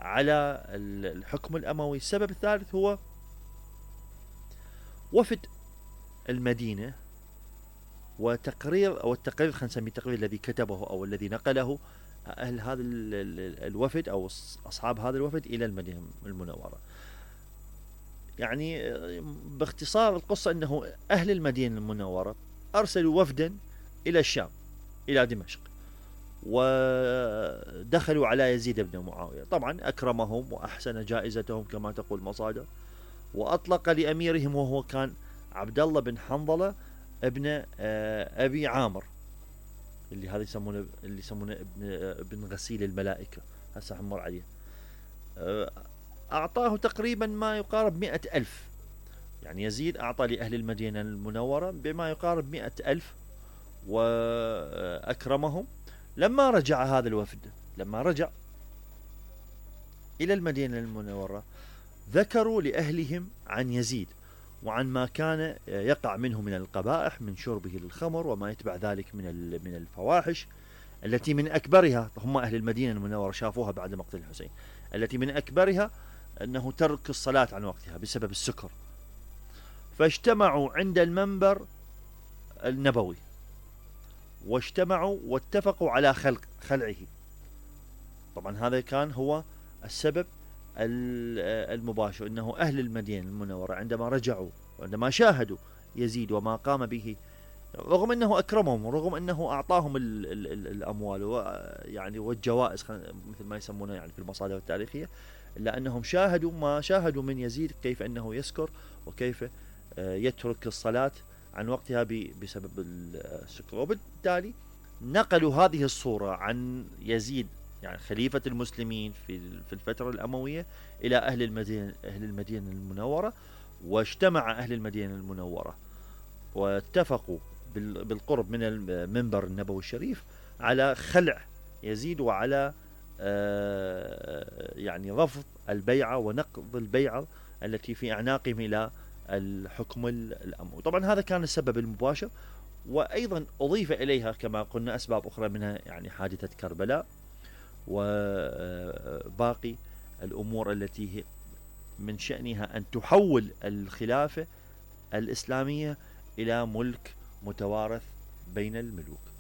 على الحكم الأموي. السبب الثالث هو وفد المدينة وتقرير، أو التقرير خلينا نسميه التقرير الذي كتبه أو الذي نقله أهل هذا الوفد أو أصحاب هذا الوفد إلى المدينة المنورة. يعني باختصار القصة أنه أهل المدينة المنورة أرسلوا وفدا إلى الشام، إلى دمشق، ودخلوا على يزيد بن معاوية. طبعا أكرمهم وأحسن جائزتهم كما تقول المصادر، وأطلق لأميرهم وهو كان عبد الله بن حنظلة ابن أبي عامر، اللي هذا يسمونه ابن غسيل الملائكة، هسه حنمر عليه. أعطاه تقريبا ما يقارب 100,000. يعني يزيد أعطى لأهل المدينة المنورة بما يقارب 100,000 وأكرمهم. لما رجع هذا الوفد، لما رجع إلى المدينة المنورة، ذكروا لأهلهم عن يزيد وعن ما كان يقع منه من القبائح، من شربه للخمر وما يتبع ذلك من الفواحش، التي من أكبرها، هم أهل المدينة المنورة شافوها بعد مقتل الحسين، التي من أكبرها أنه ترك الصلاة عن وقتها بسبب السكر. فاجتمعوا عند المنبر النبوي، واجتمعوا واتفقوا على خلعه. طبعا هذا كان هو السبب المباشر، أنه أهل المدينة المنورة عندما رجعوا وعندما شاهدوا يزيد وما قام به، رغم أنه أكرمهم ورغم أنه أعطاهم الأموال يعني والجوائز مثل ما يسمونه يعني في المصادر التاريخية، إلا أنهم شاهدوا ما شاهدوا من يزيد، كيف أنه يسكر وكيف يترك الصلاة عن وقتها بسبب السكر. وبالتالي نقلوا هذه الصورة عن يزيد، يعني خليفة المسلمين في الفترة الأموية، إلى أهل المدينة المنورة. واجتمع أهل المدينة المنورة واتفقوا بالقرب من المنبر النبوي الشريف على خلع يزيد وعلى يعني رفض البيعة ونقض البيعة التي في أعناقهم إلى الحكم الأموي. طبعا هذا كان السبب المباشر، وأيضا أضيف إليها كما قلنا أسباب أخرى، منها يعني حادثة كربلاء وباقي الأمور التي من شأنها أن تحول الخلافة الإسلامية إلى ملك متوارث بين الملوك.